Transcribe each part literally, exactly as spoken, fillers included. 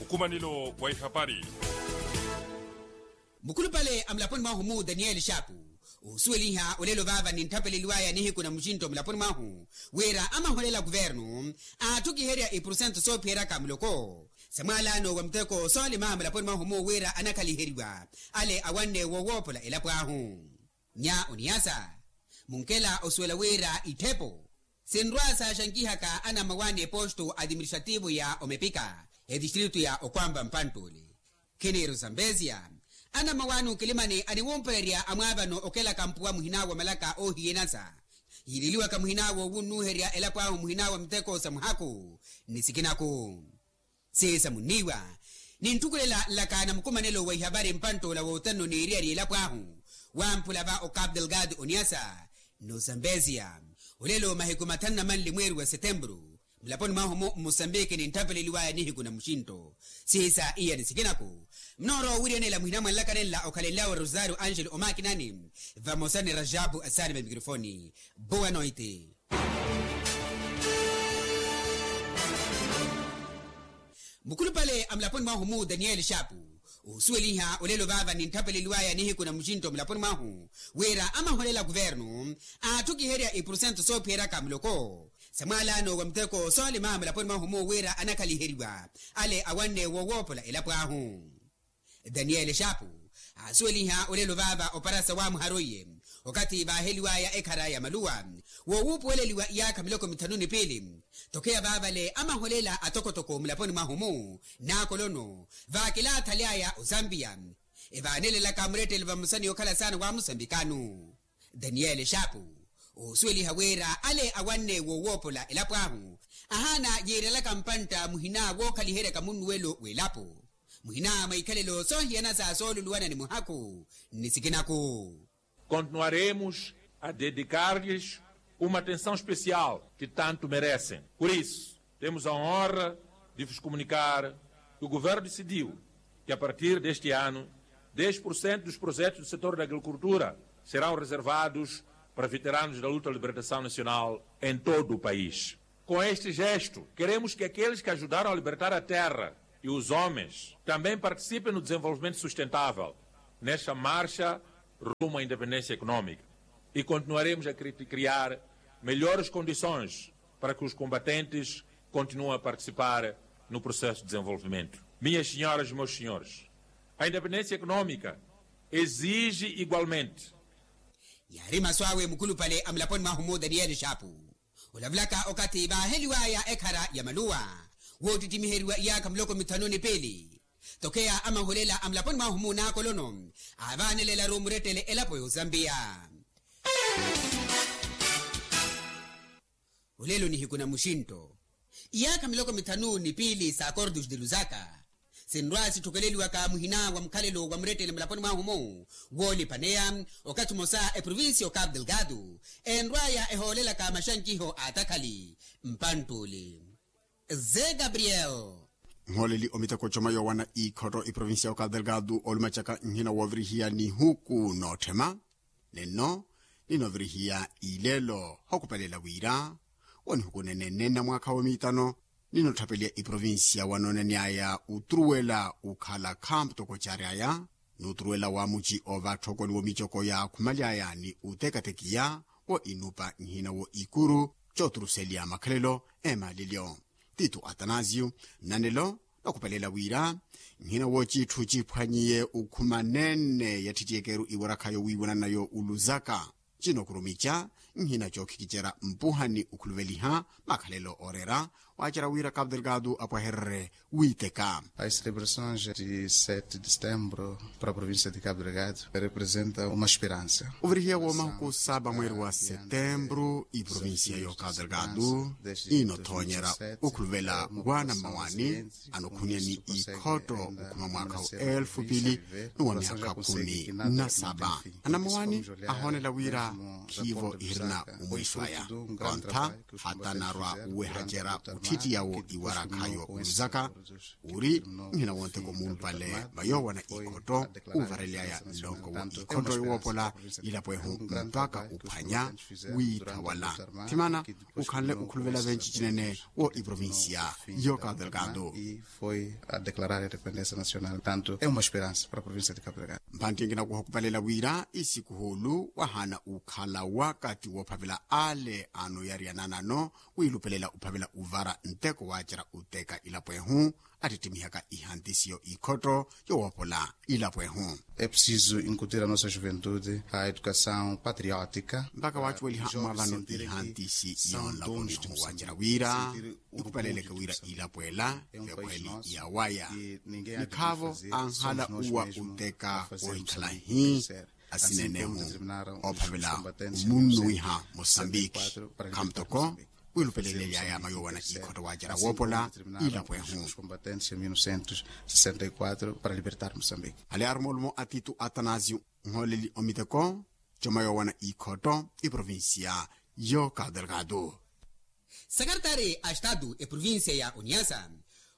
Nkumanelo wa ihapari. Mukhulupale a mulaponi mwahu-mu daniyeli xaapu, oosuweliha olelo vaava nintthapeleliwaya nihiku na muxinto mulaponi mwahu, wira amaholela kuvernu aatthukiherya ipursentu soophiyeryaka muloko sa mwaalano wa muteko soolima mulaponi mwahu-mu wira anakhaliheriwa ale awanne wowoopola elapo ahu. Nya oniyasa munkela osuwela wira itthepo sinrwa saaxankihaka anamawani eposto adiministrativo ya omepika etistritu ya okwampa mpanttuli khiniiru zambesia. Anamawani okilimani aniwumpererya amwaavano okelaka mpuwa muhina wa malaka oohiyenasa yiililiwaka muhina wowunnuherya elapo ahu muhina wa miteko sa muhaku ni sikinaku. Siisa munniiwa nintthukwelela nlaka na mukumanelo wa ihavari mpanttula wootanno niiriyari elapo ahu wamphula va ocapo delgado oniasa n'osambesia. Olelo mahiku mathanu na manli mweeri wa setempuru mulaponi mwahu-mu mmusambiki nintthapeleliwaya nihiku na muxinto. Siisa iya ni sikinaku munoorowa owiriyanela muhina mwa nlaka nenla okhalenlyawe rosario angelo omakinani vamosa ni rajabu asaani va mikrofoni. Boa noite. Mukhulupale a mulaponi mwahu-mu daniyeli xaapu, oosuweliha olelo vaava nintthapeleliwaya nihiku na muxinto mulaponi mwahu wira amaholela kuvernu aatthukiherya ipursentu soophiyeryaka muloko sa mwaalano wa muteko soolima mulaponi mwahu-mu wira anakhaliheriwa ale awanne wowoopola elapo ahu. Daniyeli xaapu aasuweliha olelo vaava oparasa wamuhara oiye okathi vaaheliwaya ekhara ya maluwa wowuupuweleliwa iyaakha miloko mithanu ni piili. Tokheya vaavale amaholela atokotoko mulaponi mwahu-mu n'akolono vaakilaathaliaya ozampiya evaanelelaka murettele vamosa ni okhala saana wa musambikanu. Daniyeli xaapu oosuweliha wira ale awanne wowoopola elapo ahu ahaana yiirelaka mpantta muhina wookhaliheryaka munnuwelo w'elapo muhina mwa ikhalelo soohiyanasa sooluluwana ni muhaku ni sikinaku. Continuaremos a dedicar-lhes uma atenção especial que tanto merecem. Por isso, temos a honra de vos comunicar que o governo decidiu que a partir deste ano dez por cento dos projetos do setor da agricultura serão reservados para veteranos da luta de libertação nacional em todo o país. Com este gesto, queremos que aqueles que ajudaram a libertar a terra e os homens também participem no desenvolvimento sustentável nesta marcha rumo à independência econômica. E continuaremos a cri-, criar melhores condições para que os combatentes continuem a participar no processo de desenvolvimento. Minhas senhoras e meus senhores, a independência econômica exige igualmente. Yaari masu awe mukhulupale a mulaponi mwahu-mu daniyeli xaapu olavulaka okathi vaaheliwaya ekhara ya maluwa woottittimiheryiwa iyaakha miloko mithanu ni piili. Tokheya amaholela a mulaponi mwahu-mu n'akolono aavaanelelaru murettele elapo y'ozampiya. Olelo nihiku na muxinto iyaakha miloko mithanu ni piili sa akordos de lusaka sinrwa sitthukeleliwaka muhina wa mukhalelo wa murettele mulaponi mwahu-mu woolipaneya okathi omosa eprovincia y'ocapo delgado enrwaya ehoolelaka maxankiho a atakhali mpanttuli. Ze gabriel. Nhooleli omiteko coma yoowana ikhotto iprovincia y'ocapo delgado olumacaka nhina woovirihiya nihuku nootthema nenno ninoovirihiya ilelo hokupelela wira wonihuku nenenenna mwaakha woomiitano ninotthapeliya iprovincia wanoonaniyaya uturuwela ukhala khampu toko caari aya n'uturuwela wa muci ovatthokwani womicoko yaakhumalyaya ni utekatekiya wo inupa nhina wo ikuru cooturuseliya makhalelo emaalilyo. Tito atanasio nnanelo nookupelela wira nhina wo citthu ciphwanyiye ukhuma nenne yatthittiyeke-ru iwarakha yowiiwananayo uluzaka cinookurumica nhina cookhikicerya mpuha ni ukhuluveliha makhalelo ooreera waacerya wira capo delgado apwahererye wiiteka. As celebrações de sete de setembro para a província de capo delgado representa uma esperança. Ovirihiya woomahuku saaba mweeri wa setembro iprovincia y'ocapo delgado inothoonyerya okhuluvela waana mmawani anokhuniya ni ikhotto okhuma mwaakha wa elfu piili ni wa myaakha khumi na saaba. Anamawani ahoonela wira khiivo na omwiso aya. Kontha hata narwa uwehacerya otthittiyawo iwarakhayo oluzaka uri nhina wontheko mumpale va yoowana ikhotto uvarelyaya nlonko wo ikhotto yowoopola ilapo ehu mpakha uphwanya wiittha wala thimana ukhanle okhuluvela venci cinene wo iprovincia yo cabo delgado. Foi a declarar a independência nacional tanto é uma esperança para a província de cabo delgado. Mphantti enkinakuha okhupalela wira isikuhulu wahaana ukhala wakati woophavela ale anoyariyananano wiilupelela uphavela uvara nteko waacerya uteka ilapo ehu attittimiihaka ihantisi yo ikhotto yowoopola ilapo ehu. É preciso incutir a nossa juventude a educação patriótica. Mpakha waacuweliha mwa vano ihantisi yoonlaponiho waacerya wira ikhupaleleke wira ilapo ela vekhweli yawaya nikhaavo anhala uwa uteka wohikhala hi asinenehu oophavela omunnuwiha mosambiki khamutoko wiilupelelelyaya mayoowana ikhotto waacerya woopola ilapo ehu. Ale ari moolumo a tito atanasio nhooleli omiteko comayoowana ikhotto iprovincia yo cabo delgado. Sekertari a estatu eprovincia ya oniasa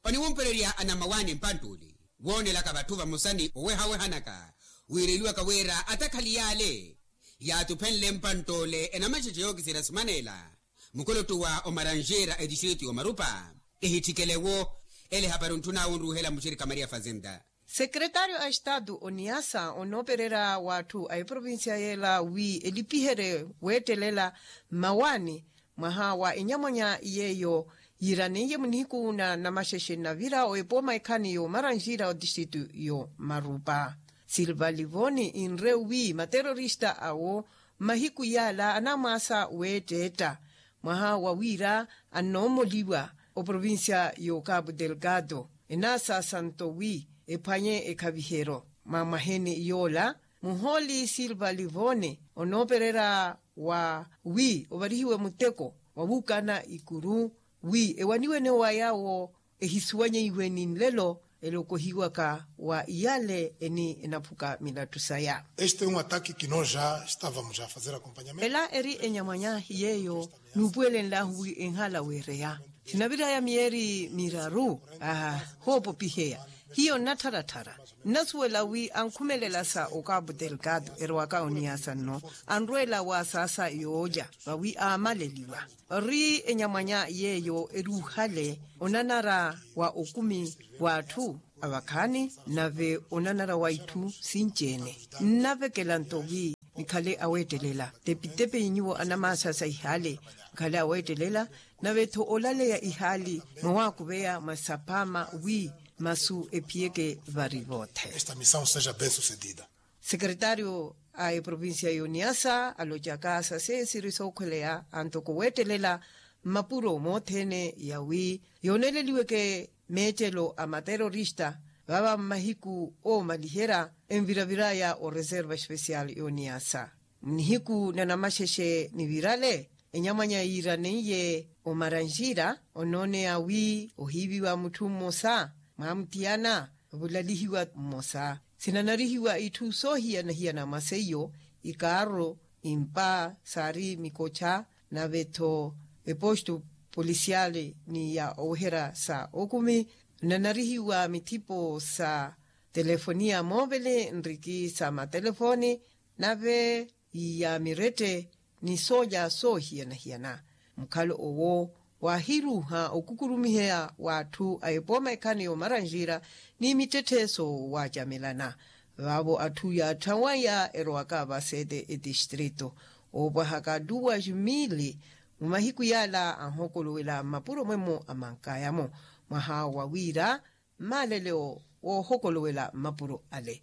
oniwumpererya anamawani mpanttuli woonelaka vatthu vamosa ni owehawehanaka wiireliwaka wira atakhali yaale yaatuphenle mpanttoole enamaxexe yookiserya sumanela mukolottu wa omaranjera etistritu y'omarupa ehitthikele-wo ele ehapari ontthun'awe onruuhela muxirikha maria fazenda. Sekretario a estatu oniasa onoopererya w'atthu a eprovincia yeela wi elipiherye weettelela mmawaani mwaha wa enyamwanya yeeyo yiiraneiye munihiku na namaxexe navira oepooma ekhani y'omaranjira otistritu y'omarupa silva livoni inre wi materorista awo mmahiku yaala anamwaasa weetteetta mwaha wa wira annoomoliwa oprovincia y'ocapo delgado enaasaasanto wi ephwanye ekhaviheryo mwa mwaheni yoola muhooli silva livone onoopererya wa wi ovarihiwe muteko wa wuukana ikuru wi ewaniwene wa yaawo ehisuwanyeiwe ni nlelo elokohiwaka wa iyale eni enaphuka milattu saya. Este un ataki kinoja stavamos a fazer acompanyamento. Ela eri enyamwanya yeeyo nuupuwelenlahu wi enhala weereya sinaviraya miyeeri miraru ahoopopiheya hiyo nnattharatthara nnasuwela wi ankhumelela sa ocapo delgado erowaka oniasa nno anrweela wa saasa yoolya vawi aamaleliwa ori enyamwanya yeeyo eruuhale onanara wa okumi w'atthu avakhaani nave onanara wa itthu sinci-ene nnavekela nto wi nikhale aweettelela tepitepe inyuwo anamaasasa ihaale nkhale aweettelela nave-tho olaleya ihaali mwawakuveya mwa sapaama wi masu ephiyeke vari voothe. Esta missão seja bem sucedida. Sekretario a eprovincia y'oniasa alocaka sase siri sookhweleya antoko weettelela mmapuro moothene yawi yooneleliweke meettelo a materorista vava mmahiku oomaliherya enviraviraya oreserva especial y'oniasa mnihiku na namaxexe nivirale enyamwanya yiiraneiye omaranjira onooneya wi ohiiviwa mutthu mmosa mwamuttiyana vulalihiwa mmosa sinanarihiwa itthu soohiyana-hiyana mwa seiyo ikaarro impa saari mikocha nave-tho epostu polisiali ni ya oweherya sa okumi nnanarihiwa mithipo sa telefoniya moovele nriki sa matelefoni nave ya mirette ni soolya soohiyana-hiyana mukhalo owo waahiruuha okukurumiheya w'atthu a epooma ekhani y'omaranjira ni mittetthe soowacamelana vaavo atthu yaatthanwaya erowaka va sete etistrito oopwahaka duas mili mumahiku yaala anhokolowela mmapuro mwemo amankayamo mwaha wa wira mmaaleleo woohokolowela mmapuro ale.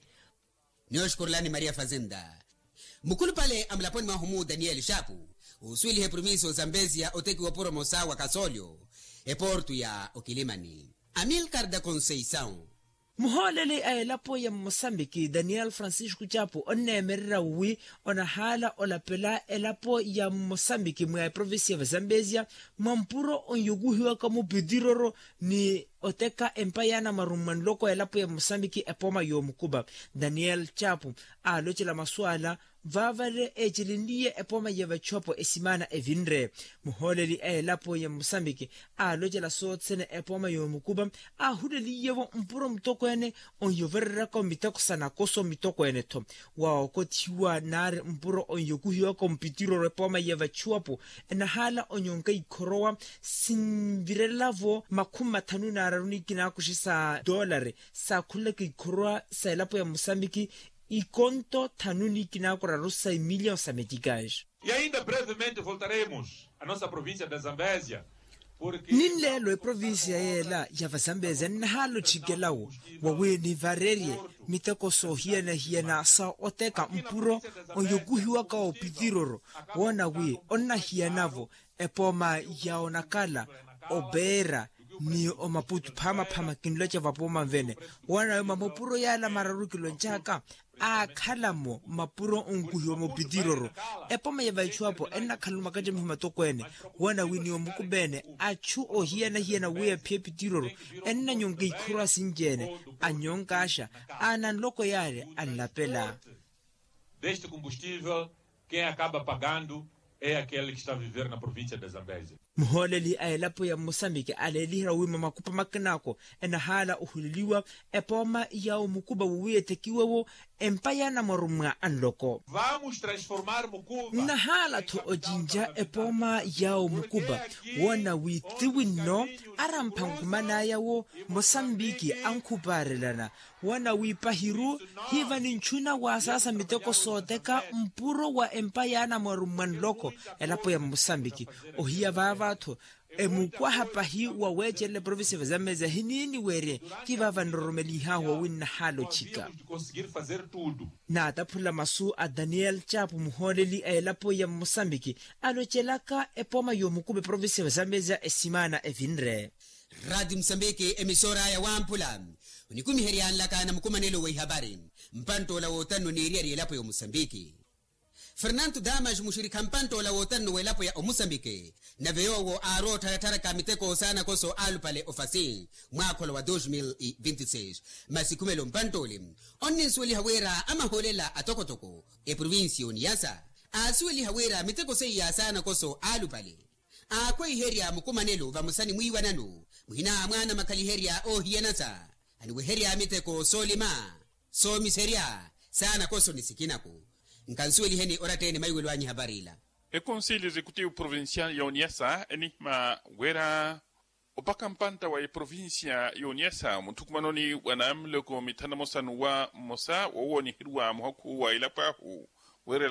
Nioxukurulani maria fazenda mukhulupale a mulaponi mwahu-mu daniel xapu osuweliha eprovincia ozambezia otekiwa opuro mosa wa kasolyo eportu ya okilimani amilcar da conceição. Muhooleli a elapo ya mmosambiki daniel francisco xapu onneemererya wi onahaala olapela elapo ya mmosambiki mwa eprovincia va zambezia mwa mpuro onyukuhiwaka mupitiroro ni oteka empa yaana marummwa nloko elapo ya mosambiki epooma y'omukupa daniel chapu aalocela masu ala Vaavale eecelenliye epooma ya vachuwapo esimaana evinre. Muhooleli a elapo ya musambiki aalocela sothene epooma yoomukupa, aahuleliyevo mpuro mutokweene, onyovereryaka omiteko sa nakoso mitokweene-tho. Waokothiwa naari mpuro onyokuhiwaka omupitiroro epooma ya vachuwapo enahaala onyonka ikhorowa sinvirelavo makhumi mathanu naararu ni kinaakuxe sa doolari saakhulelaka ikhorowa sa elapo ya musambiki ikonto thanu ni kinaakoraru sa imilion sa metikais. E ainda brevemente voltaremos a nossa província da zambésia. Ninleelo eprovincia yeela ya vazambezia nnahaala otthikelawo wawi nivarerye miteko soohiyana-hiyana sa oteka mpuro oyokuhiwaka opitiroro woona wi onnahiyanavo epooma ya onakala opeera ni omaputu phamaphama kinloca vapooma nvene woona wi mamupuro yaala mararu kiloncaaka aakhala-mo mapuro onkuhiwa mupitiroro. Epooma ya vaithuwapo ennakhala omakattamiho matokweene woona wi ni omukupeene achu ohiyana-hiyana wi ephiye pitiroro ennanyonka ikhuru asinci-ene anyonka axa ananloko yaari anlapela. Deste combustível quem acaba pagando é aquele que está a viver na província da zambésia. Muhooleli a elapo ya musambiki aleeliherya wi mamakupa makinaako enahaala ohuleliwa epooma ya omukupa wowi etekiwewo empa ya anamwarummwa anloko. Nnahaala-tho ocinca epooma ya omukupa woona wi tiwinno arampha nkuman'aya-wo mosambiki ankhupaarelana woona wi pahiru hiiva ni ntchuna waasaasa miteko sooteka mpuro wa empa ya anamwarummwa nloko elapo ya mosambiki ohiya vaava-tho emukwaha pahi wa weecelela eprovincia vazameza hiniiniwerye. Ti vaava nroromelihaahu wawi nnahaala ochika. Naataphula masu a daniel chapu muhooleli a elapo ya mosambiki alocelaka epooma yoomukupa eprovincia vazameza esimaana evinre. Rati musambiki emisora ya wamphula onikumiherya nlaka na mukumanelo wa ihapari. Mpanttoola wootanno niiriyari elapo ya omusambiki fernanto damas muxirikha mpanttoola wootanno w'elapo ya omusambiki nave yoowo aarowa ottharattharaka miteko saana koso alupale ofasi mwaakholo wa dos mil vinti seis. Masi khumelo mpanttooli onninsuweliha wira amahoolela atokotoko eprovincia oniyasa aasuweliha wira miteko seiya saana koso alupale aakhweiherya mukumanelo vamosa ni mwiiwanano muhina a mwaana makhaliherya oohiyanasa aniweherya miteko soolima soomiserya saana koso ni sikinako. Nkansuweliheni oratta-ene maiwelo anyu ehapari ila. Ekonsili exekutivu provincial ya oniyasa enihima wira opaka mpantta wa eprovincia ya oniyasa mutthukumanoni wa naamuloko mithanu na mosanu wa mmosa woowo oniheriwa muhakhu wa elapo ahu